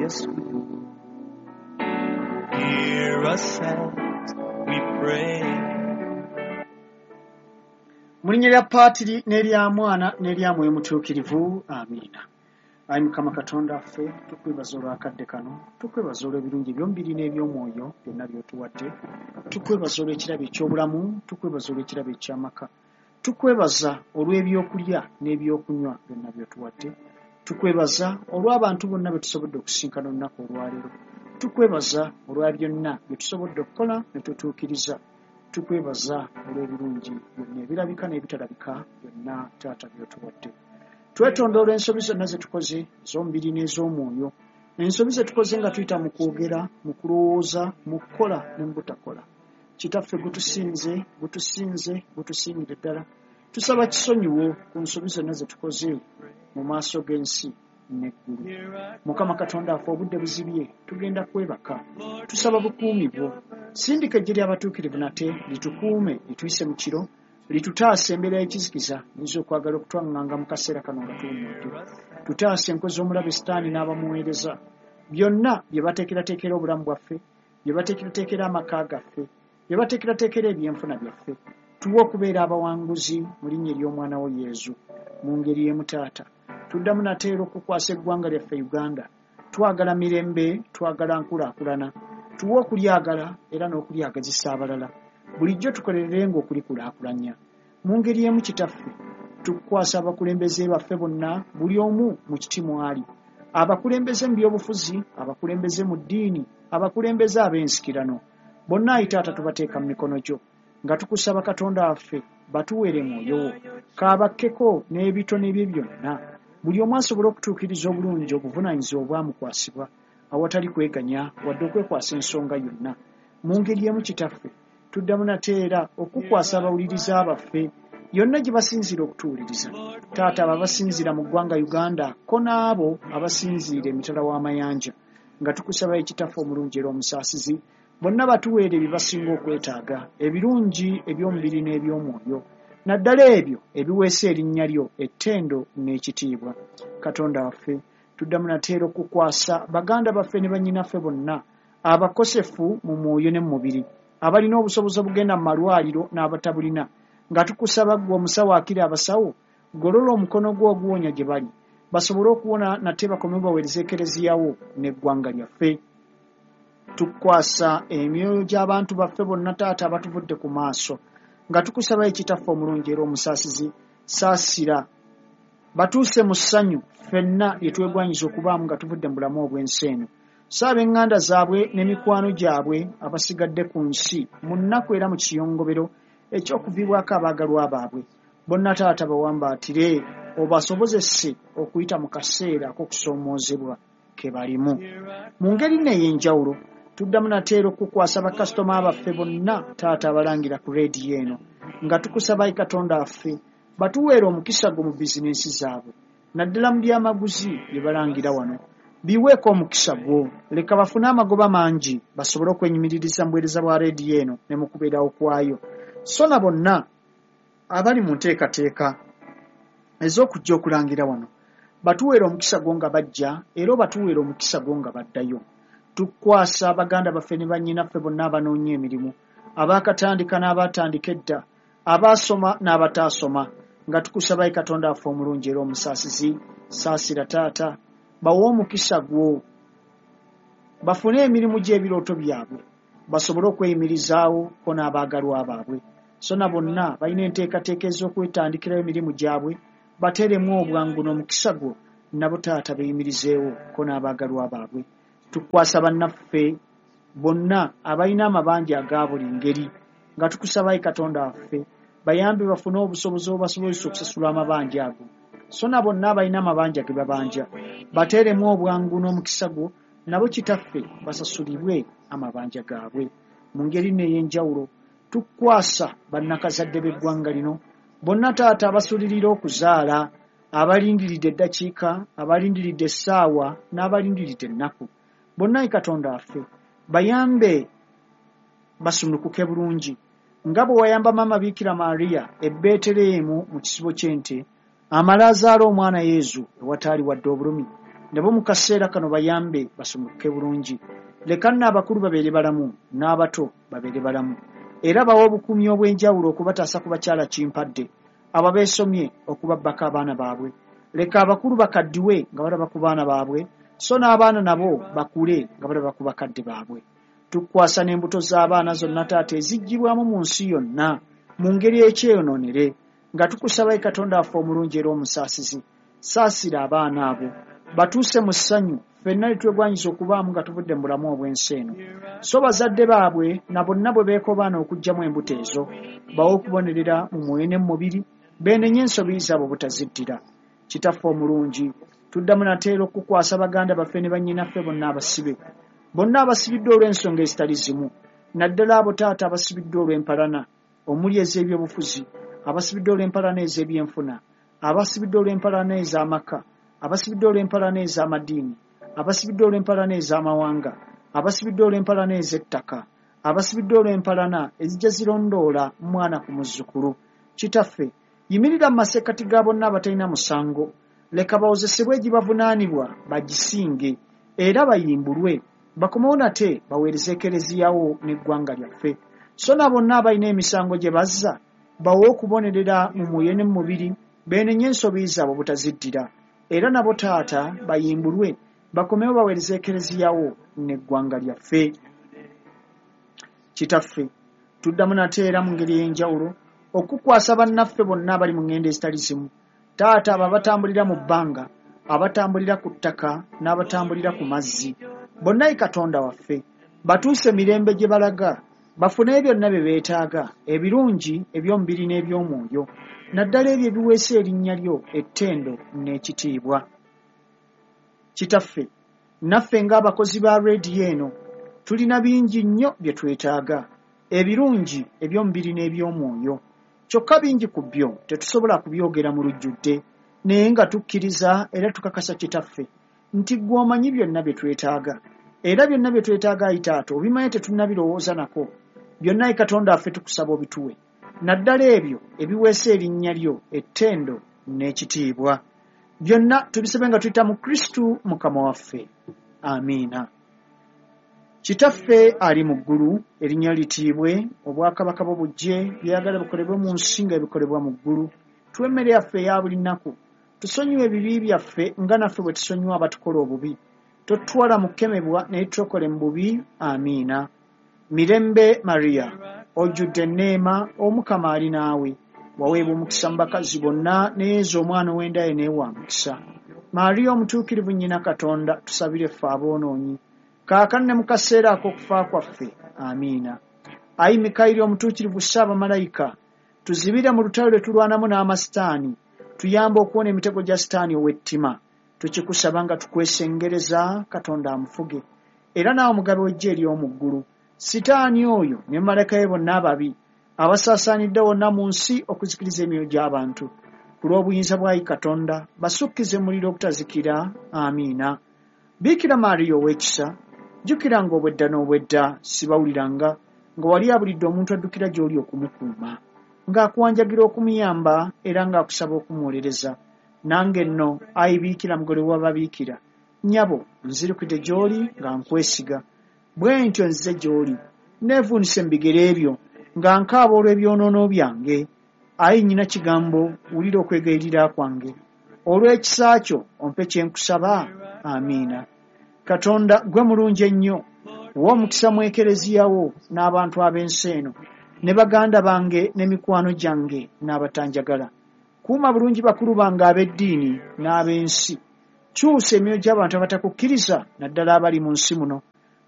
Yes, we do. Hear us as we pray. Mu linnya lya Paatiri n'erya Mwana n'erya Mwoyo Mutuukirivu, amiina. Ayi Mukama Katonda ffe, tukwebaza olw'akadde kano, tukwebaza olw'ebirungi eby'omubiri n'eby'omwoyo byonna by'otuwadde, tukwebaza olw'ekirabo eky'obulamu, tukwebaza olw'ekirabo eky'amaka, tukwebaza olw'ebyokulya n'ebyokunywa byonna by'otuwadde, tukwebaza olw'abantu bonna be tusobodde okusinkana olunaku olwaleero, tukwebaza olwa byonna bye tusobodde okukola ne tutuukiriza, tukwebaza olw'ebirungi byonna ebirabika n'ebitalabika byonna Taata by'otuwadde. Twetonda olw'ensobi zonna ze tukoze ez'omubiri n'ez'omwoyo, ensobi ze tukoze nga tuyita mu kwogera, mu kulowooza, mu kukola ne mu butakola. Kitaffe gutusinze, gutusinze, gutusingire ddala. Tusaba kisonyiwo ku nsobi zonna ze tukoze mu maaso g'ensi n'eggulu. Mukama Katonda affe, obudde buzibye, tugenda kwebaka. Tusaba bukuumi bwo. Sindika eggye ly'abatuukirivu nate litukuume, lituyise mu kiro, litutaase embeera y'ekizikiza eyinza okwagala okutwaŋŋanga mu kaseera kano nga tuwummudde. Tutaase enkwe z'omulabe Sitaani n'abamuweereza. Byonna bye bateekerateekera obulamu bwaffe, bye bateekerateekera amaka gaffe, bye bateekerateekera ebyenfuna byaffe. Tuwe okubeera abawanguzi mu linnya ery'Omwana wo Yezu. Mu ngeri y'emu Taata, tuddamu nate era okukwasa eggwanga lyaffe Uganda. Twagala mirembe, twagala nkulaakulana. Tuwe okulyagala era n'okulyagazisa abalala. Bulijjo tukolererenga okulikulaakulanya. Mu ngeri y'emu Kitaffe, tukukwasa abakulembeze baffe bonna, buli omu mu kiti mw'ali. Abakulembeze mu byobufuzi, abakulembeze mu ddiini, abakulembeze ab'ensikirano. Bonna ayi Taata tubateeka mu mikono gyo. Nga tukusaba Katonda waffe batuweere mwoyo wo. Kaabakkeko n'ebitone bye byonna. Buli omu asobole okutuukiriza obulungi obuvunaanyizibwa obwamukwasibwa awatali kweganya wadde okwekwasa ensonga yonna. Mu ngeri y'emu Kitaffe, tuddamu nate era okukwasa abawuliriza baffe yonna gye basinziira okutuwuliriza. Taata, abo abasinziira mu ggwanga Uganda ko n'abo abasinziira emitala w'amayanja, nga tukusaba Ekitaffe omulungi era omusaasizi, bonna batuweere bye basinga okwetaaga, ebirungi eby'omubiri n'eby'omwoyo, naddala ebyo ebiweesa erinnya lyo ettendo n'ekitiibwa. Katonda waffe, tuddamu nate era okukwasa baganda baffe ne bannyinaffe bonna abakosefu mu mwoyo ne mu mubiri, abalina obusobozi obugenda mu malwaliro n'abatabulina, nga tukusaba ggwe omusawo akira abasawo, golola omukono gwo oguwonya gye bali, basobole okuwona nate bakome baweereze Ekereziya wo n'eggwanga lyaffe. Tukwasa emyoyo gy'abantu baffe bonna Taata abatuvudde ku maaso, nga tukusaba Ekitaffe omulungi era omusaasizi, saasira batuuse mu ssanyu ffenna lye twegwanyiza okubaamu nga tuvudde mu bulamu obw'ensi eno. So ab'eŋŋanda zaabwe n'emikwano gyabwe abasigadde ku nsi mu nnaku era mu kiyongobero eky'okuviibwako abaagalwa baabwe, bonna Taata bawambaatire obasobozese okuyita mu kaseera ak'okusoomoozebwa ke balimu. Mu ngeri nno ey'enjawulo, tuddamu nate era okukwasa bakasitoma baffe bonna Taata abalangira ku leediyo eno, nga tukusaba ayi Katonda waffe batuweere omukisa gwo mu bizinensi zaabwe, naddala mu byamaguzi bye balangira wano. Biweeko omukisa gwo, leka bafune amagoba mangi basobole okwenyumiririza mu buweereza bwa leediyo eno ne mu kubeerawo kwayo. So na bonna abali mu nteekateeka ez'okujja okulangira wano, batuweere omukisa gwo nga bajja era obatuweere omukisa gwo nga baddayo. Tukwasa baganda baffe ne bannyinaffe bonna abanoonya emirimu, abaakatandika n'abaatandika edda, abaasoma n'abataasoma, nga tukusaba ayi Katonda waffe omulungi era omusaasizi, saasira Taata, bawe omukisa gwo, bafune emirimu gy'ebirooto byabwe, basobole okweyimirizaawo ko n'abaagalwa baabwe. So na bonna balina enteekateeka ez'okwetandikirawo emirimu gyabwe, bateeremu obwangu n'omukisa gwo, nabo Taata beeyimirizeewo ko n'abaagalwa baabwe. Tukwasa bannaffe bonna abalina amabanja aga buli ngeri, nga tukusaba ayi Katonda waffe bayambe bafune obusobozi obubasobozesa okusasula amabanja ago. So na bonna abalina amabanja ge babanja, bateeremu obwangu n'omukisa gwo, nabo Kitaffe basasulibwe amabanja gaabwe. Mu ngeri nno ey'enjawulo, tukwasa bannakazadde b'eggwanga lino bonna Taata abasulirira okuzaala, abalindiridde eddakiika, abalindiridde essaawa n'abalindiridde ennaku. Bonna ayi Katonda waffe bayambe basumulukuke bulungi, nga bwe wayamba Maama Biikira Maria e Beeteleemu mu kisibo ky'ente, amale azaale omwana Yezu ewataali wadde obulumi. Nabo mu kaseera kano bayambe basumuluke bulungi. Leka nno abakulu babeere balamu n'abato babeere balamu, era bawe obukuumi obw'enjawulo okubataasa ku bakyala kimpadde abo abeesomye okubabbako abaana baabwe. Leka abakulu bakaddiwe nga balaba ku baana baabwe, so n'abaana nabo bakule nga balaba ku bakadde baabwe. Tukwasa n'embuto z'abaana zonna taata eziggyibwamu mu nsi yonna mu ngeri ekyeyonoonere, nga tukusaba Katonda waffe omulungi era omusaasizi, saasira abaana abo batuuse mu ssanyu ffenna ne twegwanyiza okubaamu nga tuvudde mu bulamu obw'ensi eno. So bazadde baabwe na bonna bwe beekobaana okuggyamu embuto ezo, bawe okubonerera mu mwoyo ne mu mubiri, beenenye ensobi zaabwe obutaziddira. Kitaffe omulungi, tuddamu nate era okukwasa baganda baffe ne bannyinaffe bonna abasibe, bonna abasibiddwa olw'ensonga ezitali zimu, naddala abo taata abasibiddwa olw'empalana omuli ez'ebyobufuzi, abasibiddwa olw'empalana ez'ebyenfuna, abasibiddwa olw'empalana ez'amaka, abasibiddwa olw'empalana ez'amadiini, abasibiddwa olw'empalana ez'amawanga, abasibiddwa olw'empalana ez'ettaka, abasibiddwa olw'empalana ezijja zirondoola mwana ku muzzukulu. Kitaffe, yimirira mu masekkati ga bonna abatalina musango, leka bawozesebwe egibavunaanibwa bagisinge era bayimbulwe, bakomewo nate baweereze Ekereziyawo n'eggwanga lyaffe. So na bonna abalina emisango gye bazza bawe okubonerera mu mwoyo ne mu mubiri, beenenye ensobi zaabwe obutaziddira, era nabo taata bayimbulwe bakomewo baweereze Ekereziyawo n'eggwanga lyaffe. Kitaffe, tuddamu nate era mu ngeri ey'enjawulo okukwasa bannaffe bonna abali mu ŋŋendo ezitali zimu, taata abo abatambulira mu bbanga, abatambulira ku ttaka n'abatambulira ku mazzi, bonna ye Katonda waffe batuuse mirembe gye balaga, bafune byonna bye beetaaga ebirungi eby'omubiri n'eby'omwoyo, naddala ebyo ebiweesa erinnya lyo ettendo n'ekitiibwa. Kitaffe, naffe ng'abakozi ba rediyo eno tulina bingi nnyo bye twetaaga, ebirungi eby'omubiri n'eby'omwoyo. Kyokka bingi ku byo tetusobola kubyogera mu lujjudde, naye nga tukkiriza era tukakasa Kitaffe nti ggwe omanyi byonna bye twetaaga, era byonna bye twetaaga ayi taata obimanyi tetunnabirowooza nako. Byonna ayi Katonda waffe tukusaba obituwe, naddala ebyo ebiweesa erinnya lyo ettendo n'ekitiibwa. Byonna tubisabe nga tuyita mu Kristu Mukama waffe. Amiina. Kitaffe ali mu ggulu, erinnya litiibwe, obwakabaka bwo bujje, by'oyagala bikolebwe mu nsi nga bikolebwa mu ggulu. Tuwe emmere yaffe eya buli nnaku, tusonyiwe ebibi byaffe nga naffe bwe tusonyiwa abatukola obubi. Totutwala mu kukemebwa, naye tutokole mu bubi. Amiina. Mirembe Maria, ojjudde enneema, Omukama ali naawe. Waweebwa omukisa mu bakazi bonna, ne Yezu omwana ow'enda ye naye wa mukisa. Maria omutuukirivu nnyina Katonda, tusabire ffe aboonoonyi, kaakano ne mu kaseera ak'okufa kwaffe. Amiina. Ayi Mikayiri omutuukirivu Ssaabamalayika, tuzibire mu lutalo lwe tulwanamu n'amasitaani, tuyambe okuwona emitego gya Sitaani ow'ettima. Tukikusaba nga tukwesengereza Katonda amufuge, era naawe omugabe w'eggye ery'omu ggulu, Sitaani oyo ne malayika be bonna ababi abasaasaanidde wonna mu nsi okuzikiriza emyoyo gy'abantu. Ku lw'obuyinza bwa Katonda basukkize muliro ogutazikira. Amiina. Biikira Maria ow'ekisa, jjukiranga obwedda n'obwedda sibawuliranga nga wali abulidde omuntu addukira gy'oli okumukuuma, ng'akuwanjagira okumuyamba era ng'akusaba okumuwolereza. Nange nno ayi Biikira mugole w'ababiikira, nnyabo nzirukidde gy'oli nga nkwesiga. Bwe ntyo nzize gy'oli, neevuunise mu bigere byo nga nkaaba olw'ebyonoono byange. Ayi nnyina kigambo, wulira okwegayirira kwange. Olw'ekisa kyo ompe kye nkusaba. Amiina. Katonda gwe mulungi ennyo, wa omukisa mu Ekereziya wo n'abantu ab'ensi eno, ne baganda bange n'emikwano gyange n'abatanjagala. Kuuma bulungi bakulu bange ab'eddiini n'ab'ensi. Kyusa emyoyo gy'abantu abatakukkiriza, naddala abali mu nsi muno.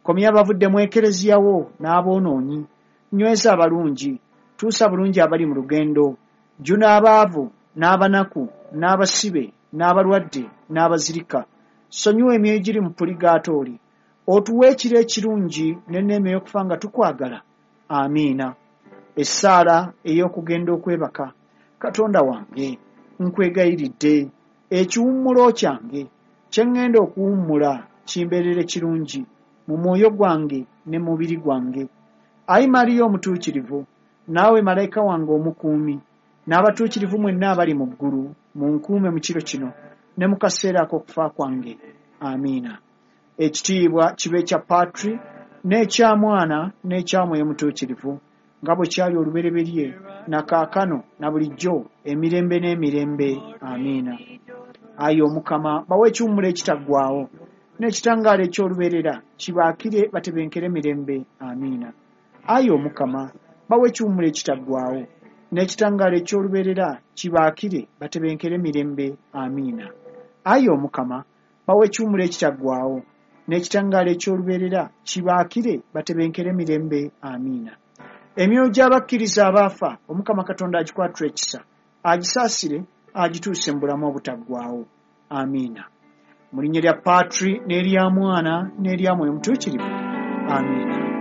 Komya abavudde mu Ekereziya wo n'aboonoonyi. Nyweza abalungi, tuusa bulungi abali mu lugendo. Jjuna abaavu n'abanaku n'abasibe n'abalwadde n'abazirika. Sonyiwa emyoyo egiri mu puligaatooli. Otuwe ekiro ekirungi n'enneema ey'okufa nga tukwagala. Amiina. Essaala ey'okugenda okwebaka. Katonda wange, nkwegayiridde, ekiwummulo kyange kye ŋŋenda okuwummula kimbeerere kirungi mu mwoyo gwange ne mu mubiri gwange. Ayi Mariya omutuukirivu, naawe malayika wange omukuumi, n'abatuukirivu mwenna abali mu ggulu, munkuume mu kiro kino ne mu kaseera ak'okufa kwange. Amiina. Ekitiibwa kibe kya Patri n'ekya Mwana n'ekya Mwoyo Mutuukirivu, nga bwe kyali olubereberye na kaakano na bulijjo emirembe n'emirembe. Amiina. Ayi Omukama, bawe ekiwummulo ekitaggwaawo n'ekitangaala eky'olubeerera kibaakire batebenkere mirembe. Amiina. Ayi Omukama, bawe ekiwummulo ekitaggwaawo n'ekitangaala eky'olubeerera kibaakire batebenkere mirembe. Amiina. Ayi Omukama, bawe ekiwummulo ekitaggwaawo n'ekitangaala eky'olubeerera kibaakire batebenkere mirembe. Amiina. Emyoyo gy'abakkiriza abaafa Omukama Katonda agikwatule ekisa, agisaasire, agituuse mu bulamu obutaggwaawo. Amiina. Mu linnya lya Patri n'erya Mwana n'erya Mwoyo Mutuukirivu. Amiina.